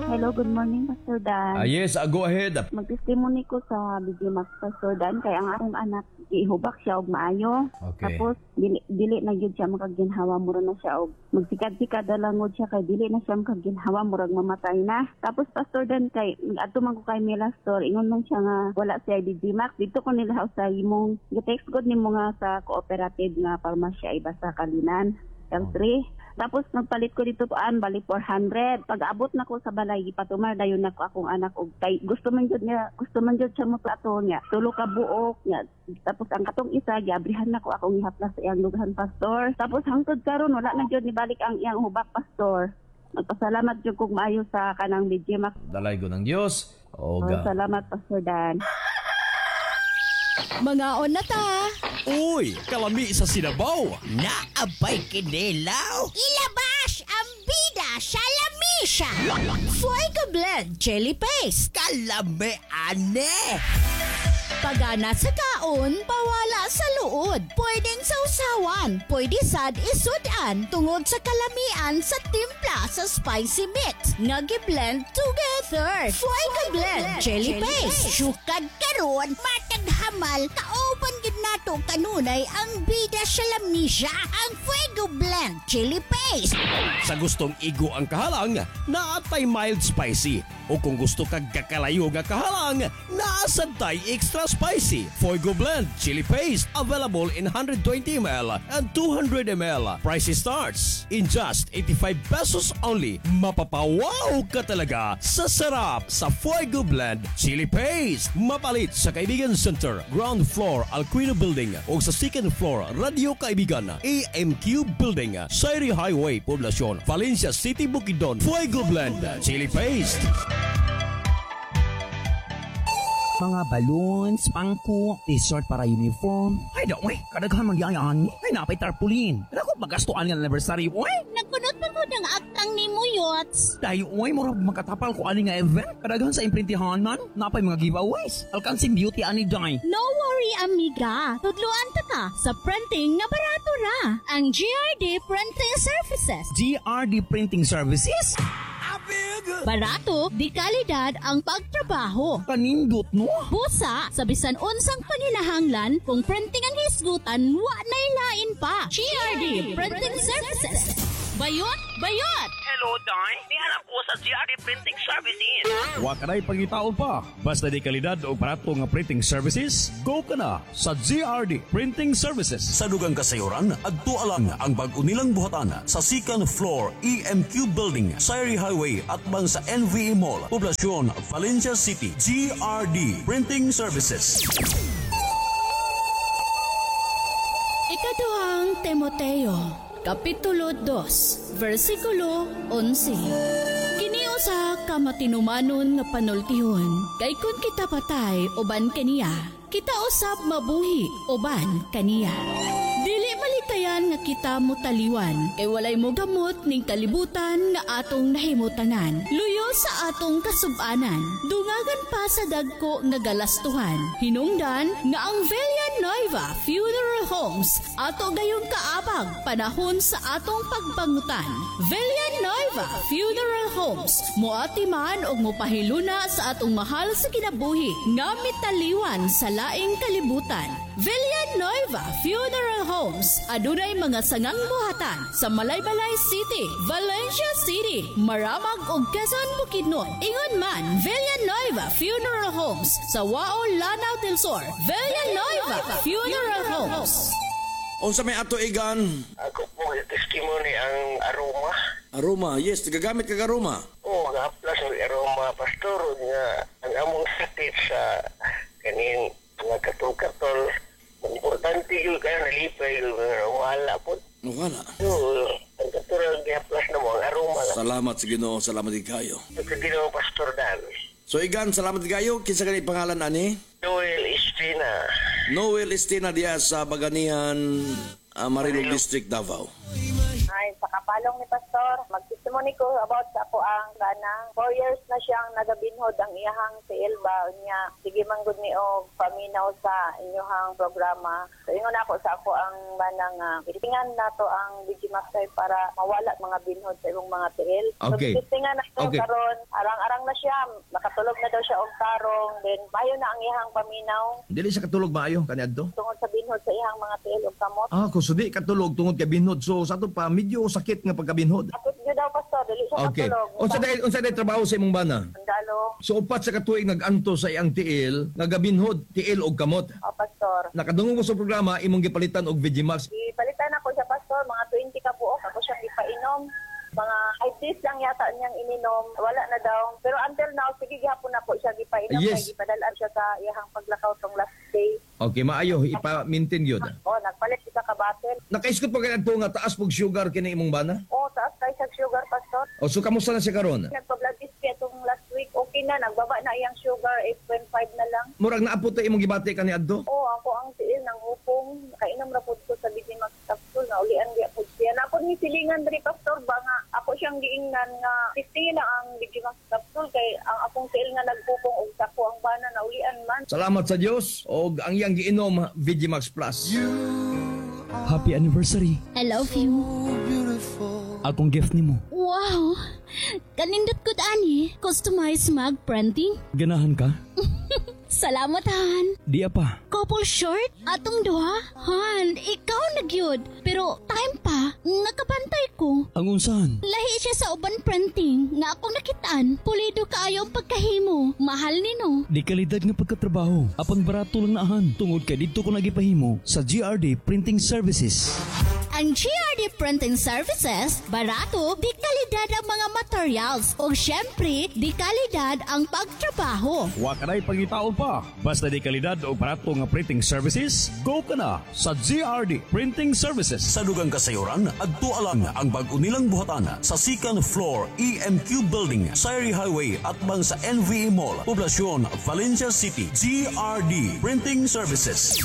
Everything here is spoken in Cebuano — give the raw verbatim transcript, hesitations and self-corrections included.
Hello, good morning, Pastor Dan. Ah, yes, ah, go ahead. Mag-testimony ko sa B J Max, Pastor Dan, kay ang akong anak gihubak siya og maayo. Okay. Tapos dili dili na gyud siya makaginhawa, mura na siya og magsikad-sikad na lang siya kay dili na siya makaginhawa, murag mamatay na. Tapos, Pastor Dan, kay adto man ko kay Mela Store, ingon man siya nga wala siya B J Max. Dito ko nila sa imong gi-text god nimo nga sa cooperative nga parmasya iba sa Kalinan. L three. Tapos nagpalit ko dito an bali four hundred. Pag abot na ko sa balay, gipatumar dayon nako akong anak og kay gusto man jud niya, gusto man jud siya mo plato niya. Tulo ka buok niya. Tapos ang katong isa giabrihan nako akong ihaplas sa iyang dughan, Pastor. Tapos hangtod karon wala na jud nibalik ang iyang hubak, Pastor. Magpasalamat jud kog maayo sa kanang B J Max. Dalaygon ang Dios. Oh, Oga. salamat, Pastor Dan. Mangaon na ta. Uy, kalami sa sinabaw. Naabay kinilaw. Ilabas ang bida sa lamisa. Fuego Blend Chili Paste. Kalami ane. Pagana sa kaon, pawala sa luod. Pwedeng sausawan, pwede sad isudan tungod sa kalamian sa timpla sa spicy mix nga gi-blend together. Fuego Blend Chili Paste. Sukad karon, matag hamal, kauban gid nato kanunay ang bida sa lamisa, ang Fuego Blend Chili Paste. Sa gustong igo ang kahalang, naatay mild spicy. O kung gusto kag kakalayo nga kahalang, naasad tay extra spicy. Fuego Blend Chili Paste, available in one hundred twenty milliliters and two hundred milliliters. Price starts in just eighty-five pesos only. Mapapawaw ka talaga sa sarap sa Fuego Blend Chili Paste. Mapalit sa Kaibigan Center, ground floor, Alquino Building o sa second floor, Radio Kaibigan, A M Q Building, Sayri Highway, Poblacion, Valencia City, Bukidnon. Fuego Blend Chili Paste. Mga balloons, pangko, T-shirt para uniform. Ay, da, uy, kadaghan man diyan. Ay, napay tarpaulin. Dako magastuan nga anniversary, uy. Nagkunot pa ko ng agtang ni mo, Yots. Dayo, uy, murag makatapal ko ani nga event. Kadaghan sa imprintihan man, napay mga giveaways. Alcancing beauty ani day. No worry, amiga. Tudluan ta ka sa printing nga barato ra. Ang G R D Printing Services. G R D Printing Services? Barato, di kalidad ang pagtrabaho. Kanindot, no? Busa, sa bisan unsang panginahanglan, kung printing ang hisgutan, wa nay lain pa. G R D Printing Services. Bayot, bayot! Hello, Day. Nihanap ko sa G R D Printing Services. Wa ka na'y pangitaon pa. Basta di kalidad o barato nga printing services, go ka na sa G R D Printing Services. Sa dugang kasayuran, adto lang ang bag-o nilang buhatan sa second floor E M Q Building, Sayri Highway at bang sa N V E Mall, Poblacion, Valencia City. G R D Printing Services. Ikaduhang Timoteo, Kapitulo dos, versikulo labing-onse. Kini usa ka matinumanon nga panultihon, kay kun kita patay uban kaniya, kita usab mabuhi uban kaniya. Dili malikayan nga kita mutaliwan, kay walay mo gamot ning kalibutan nga atong nahimutangan. Luyo sa atong kasubanan, dungagan pa sa dagko nga galastuhan. Hinungdan nga ang Villanueva Funeral Homes ato gayong kaabag panahon sa atong pagbangutan. Villanueva Funeral Homes moatiman og mopahiluna sa atong mahal sa kinabuhi nga mitaliwan sa laing kalibutan. Villanueva Funeral Homes adunay mga sangang buhatan sa Malaybalay City, Valencia City, Maramag ug Quezon, Bukidnon. Ingon man Villanueva Funeral Homes sa Wao, Lanao del Sur. Villanueva Funeral Homes. Unsa may ato, Igan? Ako po, testimony ang aroma. Aroma, yes, gagamit kag aroma. Oo, gahaplas ang aroma, Pastor, nga ang among sakit sa kaning mga katol-katol, importante yun kaya nalipay yun, wala po. Wala. So, ang katulad gihaplas na mo, ang aroma lang. Salamat sa Ginoo, salamat din kayo. Sa Ginoo, Pastor Dan. So Igan, salamat din kayo. Kinsa gani pangalan ani? Noel Estina. Noel Estina diya sa Baganihan, uh, Marilog District, Davao. Ay, sa kapalong ni Pastor, magtestimony Nagtestimony ko about sa ako ang kanang four years na siyang nagabinhod ang iyahang tiil ba niya. Sige man gud ni og paminaw sa inyong programa. So ingon ako sa ako ang manang uh, testingan nato ang BG Max kay para mawala mga binhod sa imong mga tiil. Okay. So testingan nato Okay. karon arang-arang na siya, makatulog na daw siya og tarong, then mayo na ang iyahang paminaw Dili siya katulog maayo kaniadto. tungod sa binhod sa iyang mga tiil ug kamot. Ah, kung sudi katulog tungod kay binhod. So sa ato pa medyo sakit nga pagkabinhod. Sakit gyud daw pastor, dili siya Okay. katulog. Unsa dahil unsa dahil trabaho sa imong bana? Sundalo. So upat sa katuig nag-anto sa iyang tiil, nagabinhod tiil og kamot. O pastor. Nakadungog ko sa programa imong gipalitan og Vigimax. Gipalitan ako siya pastor, mga twenty ka buok ako siyang gipainom. Mga five days lang yata niyang ininom, wala na daw. Pero until now, sige gihapon ako siya gipainom. Yes. Kay gipadalaan siya sa iyahang paglakaw tong last day. Okay, maayo ipa-maintain gyud. Oh, nagpalit siya ka bottle. Nakaisgot pa kay adto nga taas pog sugar kini imong bana? Oh, taas kay sa sugar pastor. O so kamusta na siya karon? Nagpa-blood test siya tong last week. Okay na, nagbaba na iyang sugar, eight point five na lang. Murag naapot ta imong gibati kani adto? Oh, ako ang tiil ng hupong. Kainom ra pud ko sa B G Max capsule na ulian diya pud siya. Napod ni silingan diri pastor ba nga ako siyang giingnan nga testingi lang ang B G Max capsule kay ang akong tiil nga nagpupong og sako ang bana na ulian man. Salamat sa Dios og ang iyang giinom Vigimax Plus. Happy anniversary. I love you. Akong gift nimo. Wow! Kanindot gud ani. Customized mug printing. Ganahan ka? Salamat, Han. Diya pa. Couple shirt? Atong duha? Han, ikaw na gyud. Pero time pa, nakabantay ko. Ang unsahan? Lahi siya sa uban printing nga akong nakitaan. Pulido kaayo ang pagkahimo. Mahal nino. Di kalidad nga pagkatrabaho. Apan barato lang naahan. Tungod kay didto ko nagipahimo sa G R D Printing Services. Ang G R D Printing Services, barato, di kalidad ang mga materials. O syempre, di kalidad ang pagtrabaho. Wa ka na'y pangitaon pa. Basta di kalidad o barato nga printing services, go ka na sa G R D Printing Services. Sa dugang kasayuran, adto alang ang bag-o nilang buhatan sa second floor E M Q Building, Sayri Highway at bang sa N V E Mall, Poblacion, Valencia City. G R D Printing Services.